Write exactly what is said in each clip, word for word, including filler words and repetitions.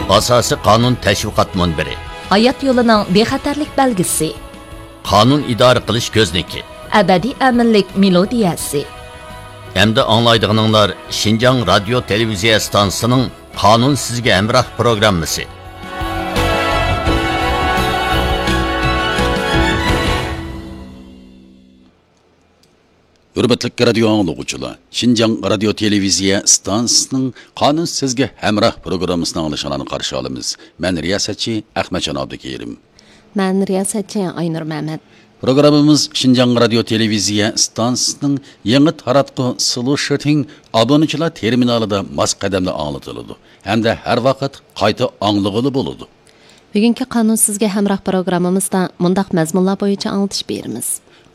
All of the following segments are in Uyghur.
ئاساسىي قانۇن تەشۋىقات مۇنبىرى. ھايات يولىنىڭ بىخەتەرلىك بەلگىسى. قانۇن ئىدارە قىلىش كۆزنىكى. ئەبەدىي ئەمىنلىك مېلودىيەسى. ئەمدى ئاڭلايدىغىنىڭلار شىنجاڭ رادىيو تېلېۋىزىيە ئىستانسىسىنىڭ قانۇن سىزگە ھەمراھ پروگراممىسى. ھۆرمەتلىك رادىيو ئاڭلىغۇچىلار، شىنجاڭ رادىيو تېلېۋىزىيە ئىستانسىسىنىڭ قانۇن سىزگە ھەمراھ پروگراممىسىنى ئاڭلىشىڭلارنى قارشى ئالىمىز. مەن رىياسەتچى ئەخمەتجان ئابدۇكېرىم. مەن رىياسەتچى ئاينۇر مەمەت. پروگراممىمىز شىنجاڭ رادىيو تېلېۋىزىيە ئىستانسىسىنىڭ يېڭى تاراتقۇ سلۇشىتىڭ ئابۇنىچىلار تېرمىنالىدا ماس قەدەمدە ئاڭلىتىلىدۇ ھەمدە ھەر ۋاقىت قايتا ئاڭلىغىلى بولىدۇ. بۈگۈنكى قانۇن سىزگە ھەمراھ پروگراممىمىزدا مۇنداق مەزمۇنلار بويىچە ئاڭلىتىش بېرىمىز.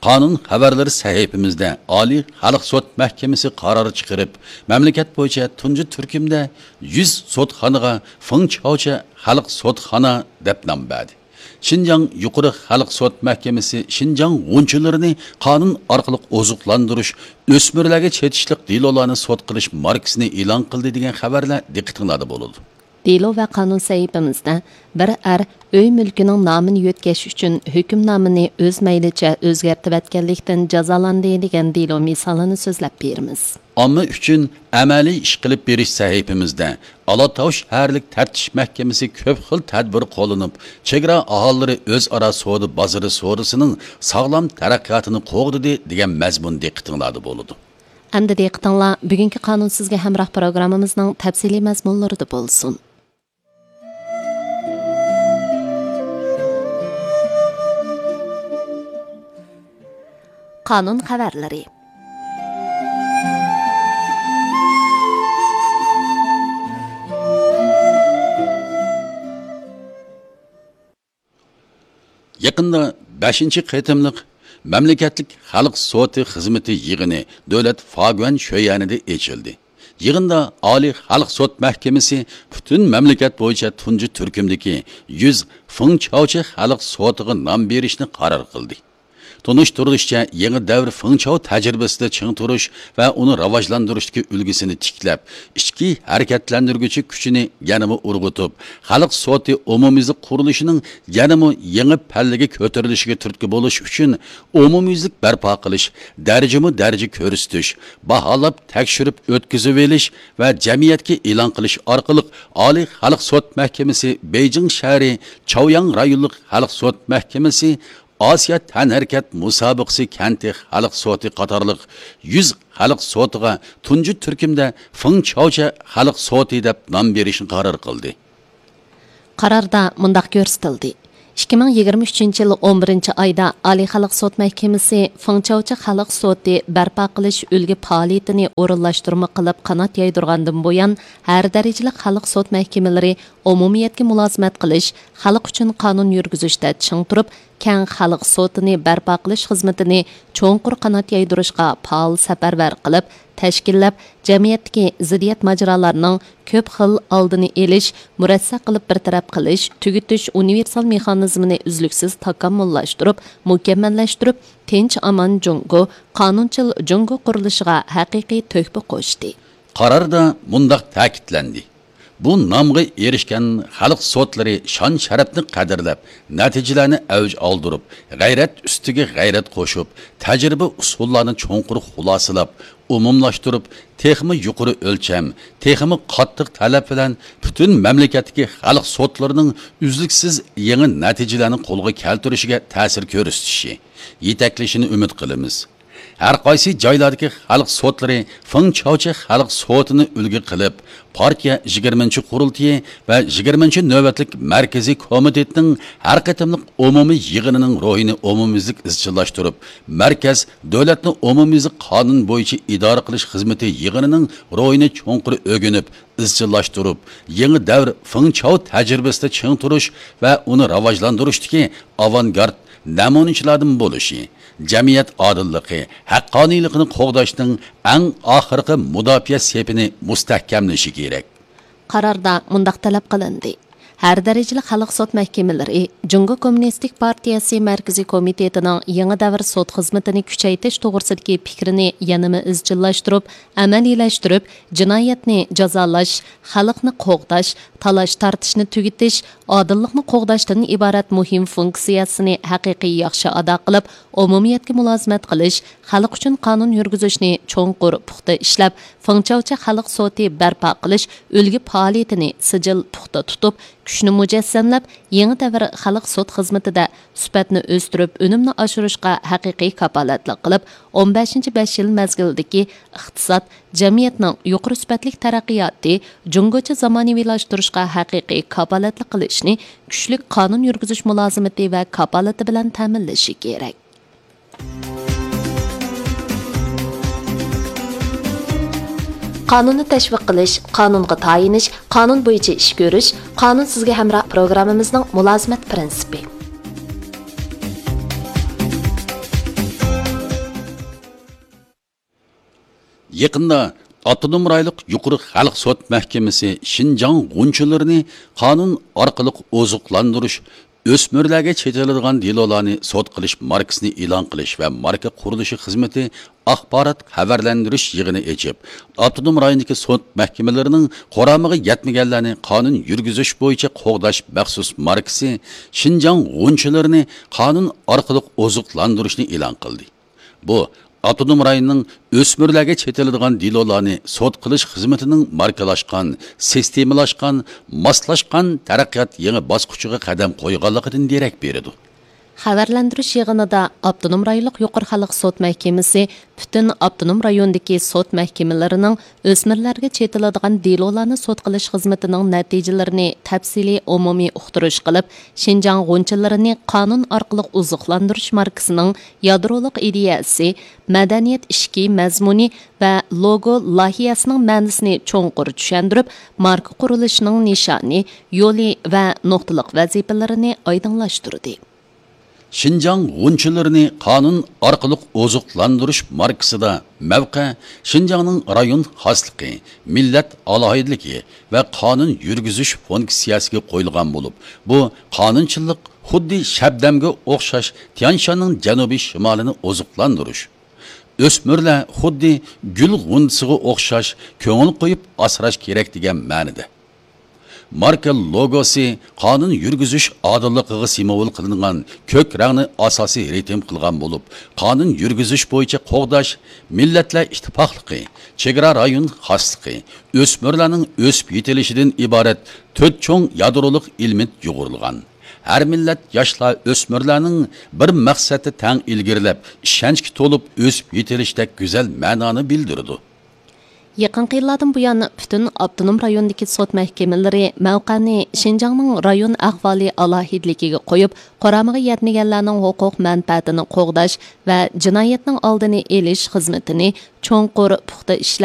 قانۇن خەۋەرلىرى سەھىپىمىزدە ئالىي خەلق سوت مەھكىمىسى قارار چىقىرىپ، مەملىكەت بويىچە تۇنجى تۈركۈمدە يۈز سوتخانىغا فېڭچاۋچە خەلق سوتخانا دەپ نام بەردى. شىنجاڭ يۇقىرى خەلق سوت مەھكىمىسى شىنجاڭ غۇنچىلىرىنى قانۇن ئارقىلىق ئوزۇقلاندۇرۇش، ئۆسمۈرلەرگە چېتىشلىق دېلولارنى سوت قىلىش ماركىسىنى ئېلان قىلدى دېگەن خەۋەرلەر دىققىتىڭلاردا بولىدۇ. دېلو ۋە قانۇن سەھىپىمىزدە بىر ئەر ئۆي مۈلكىنىڭ نامىنى يۆتكەش ئۈچۈن ھۆكۈمنامىنى ئۆز مەيلىچە ئۆزگەرتىۋەتكەنلىكتىن جازالاندى دېگەن دېلو مىسالىنى سۆزلەپ بېرىمىز. ئامما ئۈچۈن ئەمەلىي ئىش قىلىپ بېرىش سەھىپىمىزدە ئالاتاۋۇش شەھەرلىك تەپتىش مەھكىمىسى كۆپ خىل تەدبىر قوللىنىپ، چېگرا ئاھالىلىرى ئۆزئارا سودا بازىرى سودىسىنىڭ ساغلام تەرەققىياتىنى قوغدىدى دېگەن مەزمۇن دىققىتىڭلاردا بولىدۇ. ئەمدى دىققىتىڭلار بۈگۈنكى قانۇن سىزگە ھەمراھ پروگراممىمىزنىڭ تەپسىلىي مەزمۇنلىرىدا بولسۇن. قانۇن خەۋەرلىرى. يېقىندا بەشىنچى قېتىملىق مەملىكەتلىك خەلق سوتى خىزمىتى يىغىنى دۆلەت فاگۈەن شۆيەنىدە ئېچىلدى. يىغىندا ئالىي خەلق سوت مەھكىمىسى پۈتۈن مەملىكەت بويىچە تۇنجى تۈركۈمدىكى يۈز فېڭچاۋچە خەلق سوتىغا نام بېرىشنى قارار قىلدى. تونۇشتۇرۇلۇشىچە، يېڭى دەۋر فېڭچاۋ تەجرىبىسىدە چىڭ تۇرۇش ۋە ئۇنى راۋاجلاندۇرۇشتىكى ئۈلگىسىنى تىكلەپ، ئىچكى ھەرىكەتلەندۈرگۈچى كۈچىنى يەنىمۇ ئۇرغۇتۇپ، خەلق سوتى ئومۇميۈزلۈك قۇرۇلۇشىنىڭ يەنىمۇ يېڭى پەللىگە كۆتۈرۈلۈشىگە تۈرتكە بولۇش ئۈچۈن، ئومۇميۈزلۈك بەرپا قىلىش، دەرىجىمۇ دەرىجە كۆرسىتىش، باھالاپ تەكشۈرۈپ ئۆتكۈزۈۋېلىش ۋە جەمئىيەتكە ئېلان قىلىش ئارقىلىق ئالىي خەلق سوت مەھكىمىسى بېيجىڭ شەھىرى چاۋياڭ رايونلۇق خەلق سوت مەھكىمىسى ئاسىيا تەنھەرىكەت مۇسابىقىسى كەنتى خەلق سوتى قاتارلىق يۈز خەلق سوتىغا تۇنجى تۈركۈمدە فېڭچاۋچە خەلق سوتى دەپ نام بېرىشنى قارار قىلدى. قاراردا مۇنداق كۆرسىتىلدى: ئىككى مىڭ يىگىرمە ئۈچىنچى يىل ئون بىرىنچى ئايدا ئالىي خەلق سوت مەھكىمىسى فېڭچاۋچە خەلق سوتى بەرپا قىلىش ئۈلگە پائالىيىتىنى ئورۇنلاشتۇرما قىلىپ قانات يايدۇرغاندىن بۇيان، ھەر دەرىجىلىك خەلق سوت مەھكىمىلىرى ئومۇمىيەتكە مۇلازىمەت قىلىش، خەلق ئۈچۈن قانۇن يۈرگۈزۈشتە چىڭ تۇرۇپ، كەڭ خەلق سوتىنى بەرپا قىلىش خىزمىتىنى چوڭقۇر قانات يايدۇرۇشقا پائال سەپەرۋەر قىلىپ، تەشكىللەپ، جەمئىيەتتىكى زىددىيەت ماجىرالارنىڭ كۆپ خىل ئالدىنى ئېلىش، مۇرەسسە قىلىپ بىر تەرەپ قىلىش، تۈگىتىش ئۇنىۋېرسال مېخانىزمىنى ئۈزلۈكسىز تاكامۇللاشتۇرۇپ، مۇكەممەللەشتۈرۈپ، تىنچ ئامان جۇڭگو، قانۇنچىل جۇڭگو قۇرۇلۇشىغا ھەقىقىي تۆھپە قوشتى. قاراردا مۇنداق تەكىتلەندى: بۇ نامغا ئېرىشكەن خەلق سوتلىرى شان-شەرەپنى قەدىرلەپ، نەتىجىلەرنى ئەۋج ئالدۇرۇپ، غەيرەت ئۈستىگە غەيرەت قوشۇپ، تەجرىبە-ئۇسۇللارنى چوڭقۇر خۇلاسىلاپ، ئومۇملاشتۇرۇپ، تېخىمۇ يۇقىرى ئۆلچەم، تېخىمۇ قاتتىق تەلەپ بىلەن پۈتۈن مەملىكەتتىكى خەلق سوتلىرىنىڭ ئۈزلۈكسىز يېڭى نەتىجىلەرنى قولغا كەلتۈرۈشىگە تەسىر كۆرسىتىشى، يېتەكلىشىنى ئۈمىد قىلىمىز. ھەر قايسى جايلاردىكى خەلق سوتلىرى فېڭچاۋچە خەلق سوتىنى ئۈلگە قىلىپ، پارتىيە يىگىرمىنچى قۇرۇلتىيى ۋە يىگىرمىنچى نۆۋەتلىك مەركىزىي كومىتېتنىڭ ھەر قېتىملىق ئومۇمىي يىغىنىنىڭ روھىنى ئومۇميۈزلۈك ئىزچىللاشتۇرۇپ، مەركەز دۆلەتنى ئومۇميۈزلۈك قانۇن بويىچە ئىدارە قىلىش خىزمىتى يىغىنىنىڭ روھىنى چوڭقۇر ئۆگىنىپ، ئىزچىللاشتۇرۇپ، يېڭى دەۋر فېڭچاۋ تەجرىبىسىدە چىڭ تۇرۇش ۋە ئۇنى راۋاجلاندۇرۇشتىكى ئاۋانگارت نەمۇنىچىلاردىن بولۇشى، جەمئىيەت ئادىللىقى، ھەققانىيلىقىنى قوغداشنىڭ ئەڭ ئاخىرقى مۇداپىئە سېپىنى مۇستەھكەملىشى كېرەك. قاراردا مۇنداق تەلەپ قىلىندى: ھەر دەرىجىلىك خەلق سوت مەھكىمىلىرى جۇڭگو كوممۇنىستىك پارتىيەسى مەركىزىي كومىتېتىنىڭ يېڭى دەۋر سوت خىزمىتىنى كۈچەيتىش توغرىسىدىكى پىكرىنى يەنىمۇ ئىزچىللاشتۇرۇپ، ئەمەلىيلەشتۈرۈپ، جىنايەتنى جازالاش، خەلقنى قوغداش، تالاش-تارتىشنى تۈگىتىش، ئادىللىقنى قوغداشتىن ئىبارەت مۇھىم فۇنكسىيەسىنى ھەقىقىي ياخشى ئادا قىلىپ، ئومۇمىيەتكە مۇلازىمەت قىلىش، خەلق ئۈچۈن قانۇن يۈرگۈزۈشنى چوڭقۇر پۇختا ئىشلەپ، فېڭچاۋچە خەلق سوتى بەرپا قىلىش ئۈلگە پائالىيىتىنى سىجىل پۇختا تۇتۇپ، كۈچنى مۇجەسسەملەپ، يېڭى دەۋر خەلق سوت خىزمىتىدە سۈپەتنى ئۆستۈرۈپ، ئۈنۈمنى ئاشۇرۇشقا ھەقىقىي كاپالەتلىك قىلىپ، ئون بەشىنچى بەش يىل مەزگىلىدىكى ئىقتىساد، جەمئىيەتنىڭ يۇقىرى سۈپەتلىك تەرەققىياتى، جۇڭگوچە زامانىۋىلاشتۇرۇشقا ھەقىقىي كاپالەتلىك قىلىشنى كۈچلۈك قانۇن يۈرگۈزۈش مۇلازىمىتى ۋە كاپالىتى بىلەن تەمىنلىشى كېرەك. قانۇننى تەشۋىق قىلىش، قانۇنغا تايىنىش، قانۇن بويىچە ئىش كۆرۈش، قانۇن سىزگە ھەمراھ پروگراممىمىزنىڭ مۇلازىمەت پىرىنسىپى. يېقىندا ئاپتونوم رايونلۇق يۇقىرى خەلق سوت مەھكىمىسى شىنجاڭ غۇنچىلىرىنى قانۇن ئارقىلىق ئوزۇقلاندۇرۇش، ئۆسمۈرلەرگە چېتىلىدىغان دېلولارنى سوت قىلىش ماركىسىنى ئېلان قىلىش ۋە ماركا قۇرۇلۇشى خىزمىتى ئاخبارات خەۋەرلەندۈرۈش يىغىنى ئېچىپ، ئاپتونوم رايوندىكى سوت مەھكىمىلىرىنىڭ قۇرامىغا يەتمىگەنلەرنى قانۇن يۈرگۈزۈش بويىچە قوغداش مەخسۇس ماركىسى شىنجاڭ غۇنچىلىرىنى قانۇن ئارقىلىق ئوزۇقلاندۇرۇشنى ئېلان قىلدى. بۇ، ئاپتونوم رايوننىڭ ئۆسمۈرلەرگە چېتىلىدىغان دېلولارنى سوت قىلىش خىزمىتىنىڭ ماركىلاشقان، سىستېمىلاشقان، ماسلاشقان تەرەققىيات يېڭى باسقۇچىغا قەدەم قويغانلىقىدىن دېرەك بېرىدۇ. خەۋەرلەندۈرۈش يىغىنىدا ئاپتونوم رايونلۇق يۇقىرى خەلق سوت مەھكىمىسى پۈتۈن ئاپتونوم رايوندىكى سوت مەھكىمىلىرىنىڭ ئۆسمۈرلەرگە چېتىلىدىغان دېلولارنى سوت قىلىش خىزمىتىنىڭ نەتىجىلىرىنى تەپسىلىي ئومۇمىي ئۇقتۇرۇش قىلىپ، شىنجاڭ غۇنچىلىرىنى قانۇن ئارقىلىق ئوزۇقلاندۇرۇش ماركىسىنىڭ يادرولۇق ئىدىيەسى، مەدەنىيەت ئىشىكى مەزمۇنى ۋە لوگو لايىھەسىنىڭ مەنىسىنى چوڭقۇر چۈشەندۈرۈپ، ماركا قۇرۇلۇشىنىڭ نىشانى، يولى ۋە نۇقتىلىق ۋەزىپىلىرىنى ئايدىڭلاشتۇردى. شىنجاڭ غۇنچىلىرىنى قانۇن ئارقىلىق ئوزۇقلاندۇرۇش ماركىسىدا مەۋقە شىنجاڭنىڭ رايون خاسلىقى، مىللەت ئالاھىدىلىكى ۋە قانۇن يۈرگۈزۈش فۇنكسىيەسىگە قويۇلغان بولۇپ، بۇ قانۇنچىلىق خۇددى شەبنەمگە ئوخشاش تيانشاننىڭ جەنۇبىي شىمالىنى ئوزۇقلاندۇرۇش، ئۆسمۈرلەر خۇددى گۈل غۇنچىسىغا ئوخشاش كۆڭۈل قويۇپ ئاسراش كېرەك دېگەن مەنىدە. ماركا لوگوسى قانۇن يۈرگۈزۈش ئادىللىقىغا سىمۋول قىلىنغان كۆك رەڭنى ئاساسىي رىتىم قىلغان بولۇپ، قانۇن يۈرگۈزۈش بويىچە قوغداش، مىللەتلەر ئىتتىپاقلىقى، چېگرا رايون خاسلىقى، ئۆسمۈرلەرنىڭ ئۆسۈپ يېتىلىشىدىن ئىبارەت تۆت چوڭ يادرولۇق ئېلېمېنت يۇغۇرۇلغان. ھەر مىللەت ياشلار، ئۆسمۈرلەرنىڭ بىر مەقسەتتە تەڭ ئىلگىرىلەپ، ئىشەنچكە تولۇپ ئۆسۈپ يېتىلىشىدەك گۈزەل مەنانى بىلدۈرىدۇ. يېقىنقى يىللاردىن بۇيان، پۈتۈن ئاپتونوم رايوندىكى سوت مەھكىمىلىرى مەۋقەنى شىنجاڭنىڭ رايون ئەھۋالى ئالاھىدىلىكىگە قويۇپ، قۇرامىغا يەتمىگەنلەرنىڭ ھوقۇق مەنپەئەتىنى قوغداش ۋە جىنايەتنىڭ ئالدىنى ئېلىش خىزمىتىنى چوڭقۇر پۇختا ئىشلەپ،